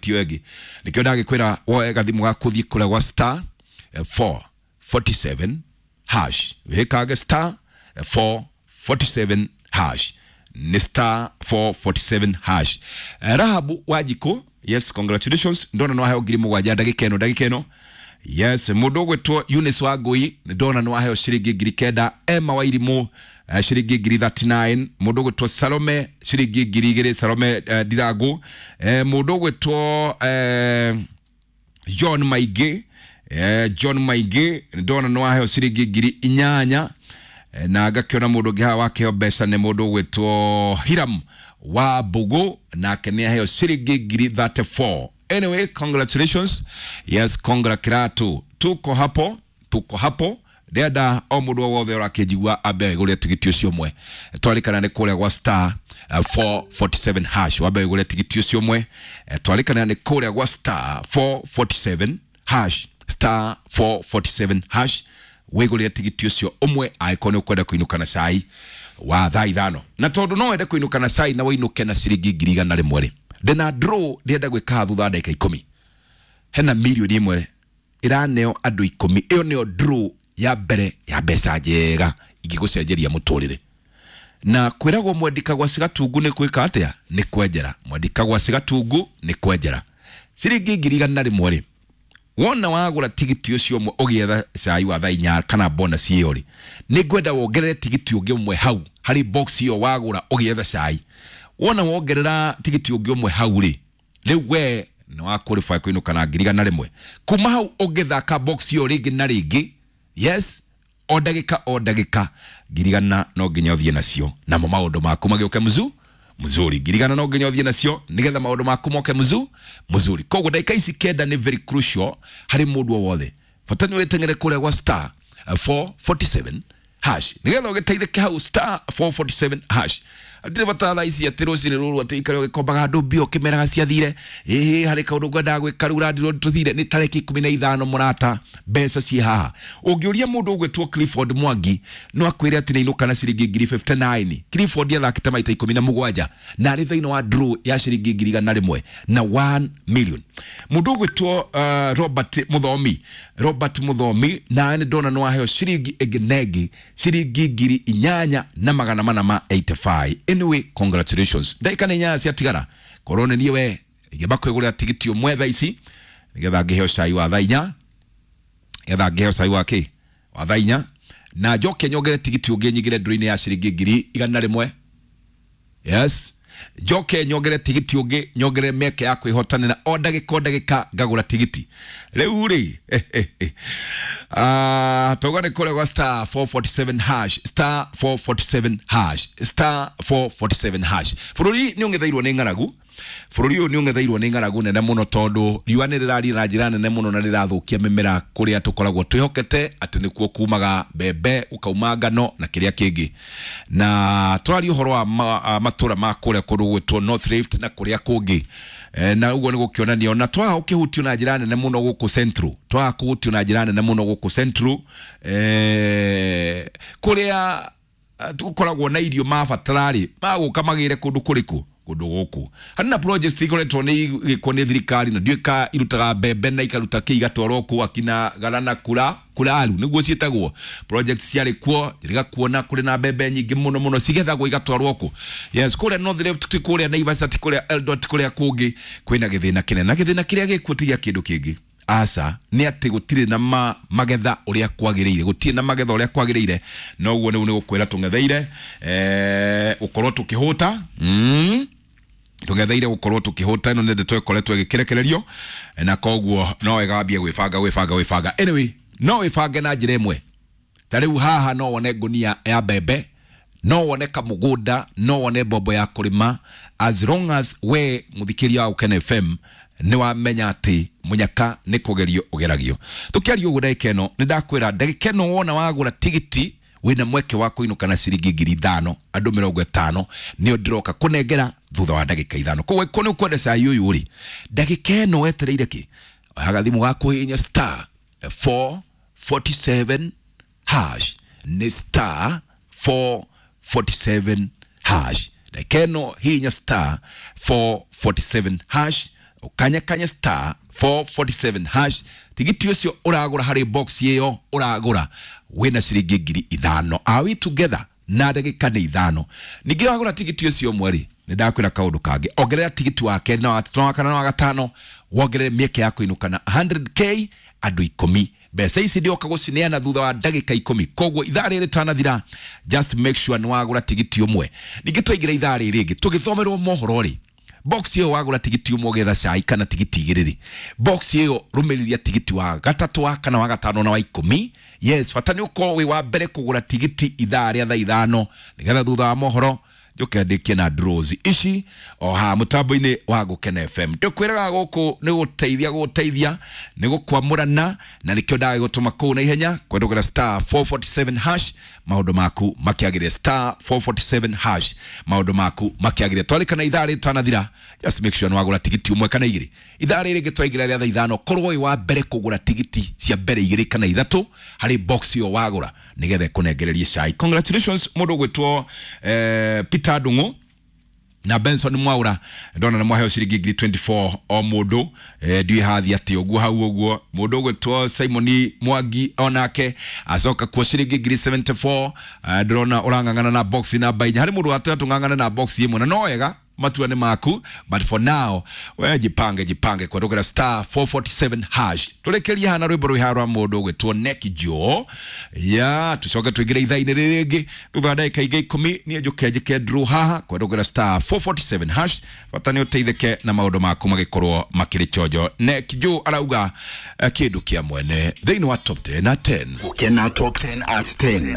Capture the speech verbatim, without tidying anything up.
tigiti ĩyo ĩngĩ. Nĩkĩo ndagĩkwĩra woe gathimũ gaku ũthiĩ kũrĩa gwa star four forty-seven hash, wĩkange star four forty-seven hash, ni star four forty-seven hash. Rahabu Wanjikũ, yes, congratulations, ndona no waheo ngiri mũgwanja ndagĩka ĩno ndagĩka ĩno. Yes, mũndũ ũgwĩtwo Eunice Wangũi ndona no waheo ciringi ngiri kenda. Emma Wairimũ uh, ciringi ngiri thirty-nine. Mũndũ ũgwĩtwo Salome ciringi ngiri igĩrĩ, Salome uh, Ndirangu. Eh, mũndũ ũgwĩtwo eh, John Maingĩ, eh, John Maingĩ ndona no waheo ciringi ngiri inyanya. Eh, na ngakĩona mũndũ ũngĩ haha wakĩheo mbeca nĩ mũndũ ũgwĩtwo Hiram wa Mbugu, nake nĩ aheo ciringi ngiri thirty-four. Anyway, congratulations. Yes, congra kiratu. Tuko hapo, tuko hapo. Ndĩrenda o mũndũ o wothe ũrakĩnjigua ambe agũre tigiti ũcio ũmwe. Twarĩkana nĩ kũrĩa gwa star four forty-seven hash. Wambe ũgũre tigiti ũcio ũmwe. Twarĩkana nĩ kũrĩa gwa star four forty-seven hash. Star four forty-seven hash. Wĩgũrĩre tigiti ũcio ũmwe angĩkorwo nĩ ũkwenda kũinũka na cai wa thaa ithano. Na tondũ no wende kũinũka na cai na wĩinũke na ciringi ngiri igana rĩmwe rĩ, ndĩna draw ndĩrenda gwĩka thutha wa ndagĩka ikũmi. Hena mirioni ĩmwe ĩraneo andũ ikũmi. Ĩyo nĩyo draw ya mbere ya mbeca njega ingĩgũcenjeria mũtũrĩre. Na kwĩragwo mwendika gwa cigatungu nĩ gwĩka atĩa? Nĩ kwenjera. Mwendika gwa cigatungu nĩ kwenjera. Ciringi ngiri igana rĩmwe rĩ, wona wagũra tigiti ũcio ũmwe ũgĩetha cai wa thaa inya kana bonus ĩyo rĩ, nĩ ngwenda wongerere tigiti ũngĩ ũmwe hau harĩ box ĩyo wagũra ũgĩetha cai. Wona wongerera tigiti ũngĩ ũmwe hau rĩ, rĩu we nĩ wa qualify kũinũka na ngiri igana rĩmwe. Kuma hau ũngĩthaka box ĩyo rĩngĩ na rĩngĩ, yes, o ndagĩka o ndagĩka, ngiri igana no nginya ũthiĩ nacio, namo maũndũ maku magĩũke mzu mzuri. Ngiri igana no nginya ũthiĩ nacio nĩgetha maũndũ maku moke mzu mzuri. Koguo ndagĩka ici kenda nĩ very crucial harĩ mũndũ o wothe. Bata nĩ wĩteng'ere kũrĩa gwa star four forty-seven hash nĩgetha ũgĩteithĩke hau star four forty-seven hash. Ndirĩ bata thaa ici atĩ rũcinĩ rũrũ atĩ ũikare ũgĩkombaga andũ mbia ũkĩmeraga ciathire. Ĩhĩ, harĩ kaũndũ ngwendaga gwĩka rĩu ũrandirwo tũthire. Nĩ tarĩki ikũmi na ithano mũrata, mbeca ciĩ haha. Ũngĩũria mũndũ ũgwĩtwo Clifford Mwangi no akwĩre atĩ nĩainũka na ciringi ngiri fifty-nine. Clifford athakĩte maita ikũmi na mũgwanja na arĩ thĩinĩ wa draw ya ciringi ngiri igana rĩmwe na one million. Mũndũ ũgwĩtwo uh, Robert Muthomi, Robert Muthomi na nĩ ndona no aheo ciringi ĩngĩ na ĩngĩ ciringi ngiri inyanya na magana mana ma eighty-five. Anyway, congratulations. Ndagĩka nĩ inyanya ciatigara. Korwo nĩ niĩ we ingĩamba kwĩgũrĩra tigiti ũmwe thaa ici nĩgetha ngĩheo cai wa thaa inya, nĩgetha ngĩheo cai wa kĩ? Wa thaa inya, na njoke nyongere tigiti ũngĩ nyingĩre ndũrũ-inĩ ya ciringi ngiri igana rĩmwe. Yes, njoke nyongere tigiti ũngĩ, nyongere mĩeke ya kwĩhotanĩra o ndagĩka o ndagĩka ngagũra tigiti. Rĩu rĩ, ah, tauga nĩ kũrĩa gwa star four forty-seven hash, star four forty-seven hash, star four forty-seven hash. Bũrũri nĩ ũng'etheirwo nĩ ng'aragu. Bũrũri ũyũ nĩ ũng'etheirwo nĩ ng'aragu nene mũno tondũ riũa nĩ rĩrarĩ na njĩra nene mũno na rĩrathũkia mĩmera kũrĩa tũkoragwo twĩhokete atĩ nĩkuo kumaga mbembe, ũkauma ngano na kĩrĩa kĩngĩ. Na tũraria ũhoro wa ma-, matũra ma kũrĩa kũndũ gwĩtwo North Rift na kũrĩa kũngĩ. Eh, na ũguo nĩ gũkĩonania ona twaga gũkĩhutio na njĩra nene mũno gũkũ Central, twaga kũhutio na njĩra nene mũno gũkũ Central, eh, kũrĩa tũkoragwo na irio mabatara rĩ, magũka magĩre kũndũ kũrĩkũ? Kũndũ gũkũ. Harĩ na projects ikoretwo nĩ igĩkwo nĩ thirikari na ndiũĩ ka irutaga mbembe na ikaruta kĩ igatwarwo kũu akina Garana kura Kuraru nĩguo ciĩtagwo. Projects ciarĩ kuo, njĩrĩga kuona kũrĩ na mbembe nyingĩ mũno mũno cigethagwo igatwarwo kũ. Yes, kũrĩa North Rift ti kũrĩa Naivasha ti kũrĩa Eldoret ti kũrĩa kũngĩ kwĩna gĩthĩna kĩnene. Na gĩthĩna kĩrĩa gĩkuo ti gĩa kĩndũ kĩngĩ. Aca, nĩ atĩ gũtirĩ na ma-, magetha ũrĩa kwagĩrĩire, gũtirĩ na magetha ũrĩa kwagĩrĩire. No ũguo nĩguo nĩ gũkwĩra tũng'etheire, eh, gũkorwo tũkĩhũta. Mm. Tũng'etheire gũkorwo tũkĩhũta, ĩno nĩ ndeto ĩkoretwo ĩgĩkĩrekererio, na koguo no wega wambie gwĩbanga, gwĩbanga, gwĩbanga. Anyway, no wĩbange na njĩra ĩmwe. Ta rĩu haha no wone ngũnia ya mbembe, no wone kamũgũnda, no wone mbombo ya kũrĩma, as long as we mũthikĩria wa Gũkena F M nĩ wamenya atĩ mũnyaka nĩ kũgerio ũgeragio. Tũkĩaria ũguo ndagĩka ĩno, nĩ ndakwĩra ndagĩka ĩno wona wagũra tigiti wĩna mweke wa kũinũka na ciringi ngiri ithano, andũ mĩrongo ĩtano nĩo ndĩroka kũnengera thutha wa ndagĩka ithano. Koguo ĩkorwo nĩ ũkwenda cai ũyũ rĩ, ndagĩka ĩno wetereire kĩ? Oya gathimũ gaku hihinya star four forty-seven hash, nĩ star four forty-seven hash. Ndagĩka ĩno hihinya star four forty-seven hash Ukanyakanya star four forty-seven hash, tigiti ũcio ũragũra harĩ box ĩyo ũragũra wĩna ciringi ngiri ithano. Are we together? Na ndagĩka nĩ ithano. Ningĩ wagũra tigiti ũcio ũmwe rĩ, nĩ ndakwĩra kaũndũ kangĩ, ongerera tigiti wa kerĩ na wa gatatũ na wa kana na wa gatano, wongerere mĩeke ya kũinũka na hundred K andũ ikũmi. Mbeca ici ndioka gũcineana thutha wa ndagĩka ikũmi, koguo ithaa rĩrĩ rĩtanathira, just make sure nĩ wagũra tigiti ũmwe. Ningĩ twaingĩra ithaa rĩrĩ rĩngĩ tũgĩthomerwo mohoro rĩ, box ĩyo wagũra tigiti ũmwe ũgetha cai kana tigiti igĩrĩ rĩ, box ĩyo rũmĩrĩria tigiti wa gatatũ, wa kana, wa gatano na wa ikũmi. Yes, bata nĩ ũkorwo wĩ wa mbere kũgũra tigiti ithaa rĩa thaa ithano, nĩgetha thutha wa mohoro njoke ndĩkie na draws ici o haha mũtambo-inĩ wa Gũkena F M. Tũkwĩraga gũkũ nĩ gũteithia, gũteithia nĩ gũkwamũrana, na nĩkĩo ndagĩgũtũma kũu na ihenya kwendũgĩra star four forty-seven hash, maũndũ maku makĩagĩre. Star four forty-seven hash, maũndũ maku makĩagĩre. Twarĩkana ithaa rĩrĩ rĩtanathira, just make sure nĩ wagũra tigiti ũmwe kana igĩrĩ. Ithaa rĩrĩ rĩngĩ twaingĩra rĩa thaa ithano, korwo wĩ wa mbere kũgũra tigiti cia mbere igĩrĩ kana ithatũ harĩ box ĩyo wagũra, nĩgetha ĩkũnengererie cai. Congratulations mũndũ ũgwĩtwo, eh, Peter Ndung'u na Benson Mwaura, ndona nĩ mwaheo ciringi ngiri twenty-four o mũndũ. Eh, ndiũĩ hathi atĩ ũguo hau ũguo. Mũndũ ũgwĩtwo Simon Mwangi onake acoka kuo ciringi ngiri seventy-four. Eh, ndĩrona ũrang'ang'ana na box namba inya. Harĩ mũndũ watwĩra tũng'ang'ane na box ĩmwe, na no wega, matua nĩ maku, but for now we jipange, jipange kwendũkĩra star four forty-seven hash. Tũrĩkĩrie hana rwĩmbo rwĩ haha rwa mũndũ ũgwĩtwo Neck Joe ya, tũcoke tũingĩre ithaa-inĩ rĩrĩ rĩngĩ thutha wa ndagĩka ingĩ ikũmi. Niĩ njũke njĩke draw haha kwendũkĩra star four forty-seven hash, bata nĩ ũteithĩke na maũndũ maku magĩkorwo makĩrĩ chonjo. Neck Joe arauga, eh, kĩndũ kĩa mwene thĩinĩ wa top ten at ten. Gũkena top ten at ten.